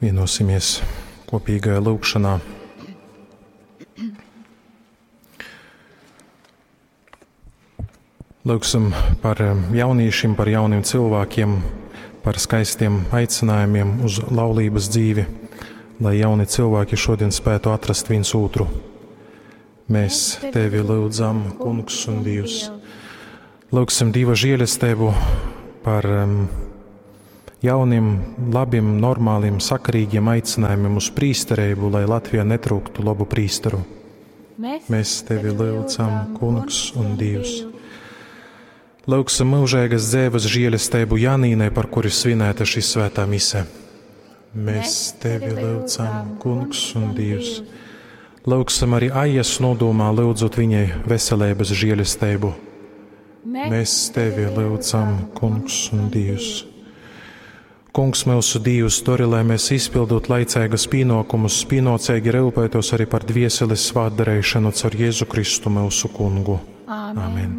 Vienosimies kopīgajā lūgšanā. Lūgsim par jauniešiem, par jauniem cilvēkiem, par skaistiem aicinājumiem uz laulības dzīvi, lai jauni cilvēki šodien spētu atrast viens otru. Mēs tevi lūdzam, Kungs un Dievs. Lūgsim Dieva žēlastību par jauniem, labiem, normāliem, sakarīgiem aicinājumiem uz prīsterību, lai Latvijā netrūktu labu prīsteru. Mēs, Mēs tevi lūdzam, Kungs un Dievs. Lūgsim mūžīgas dzīves žēlastību Janīnai, par kuri svinēta šī svētā mise. Mēs tevi lūdzam, Kungs un Dievs. Lūgsim arī Aijas nodomā, lūdzot viņai veselības žēlastību. Mēs tevi lūdzam, Kungs un Dievs. Kungs, mūsu Dievs, dori, lai mēs izpildot laicīgas pienākumus, pienācīgi rūpētos arī par dvieseles svētdarīšanu caur Jēzu Kristu mūsu kungu. Āmen. Amen.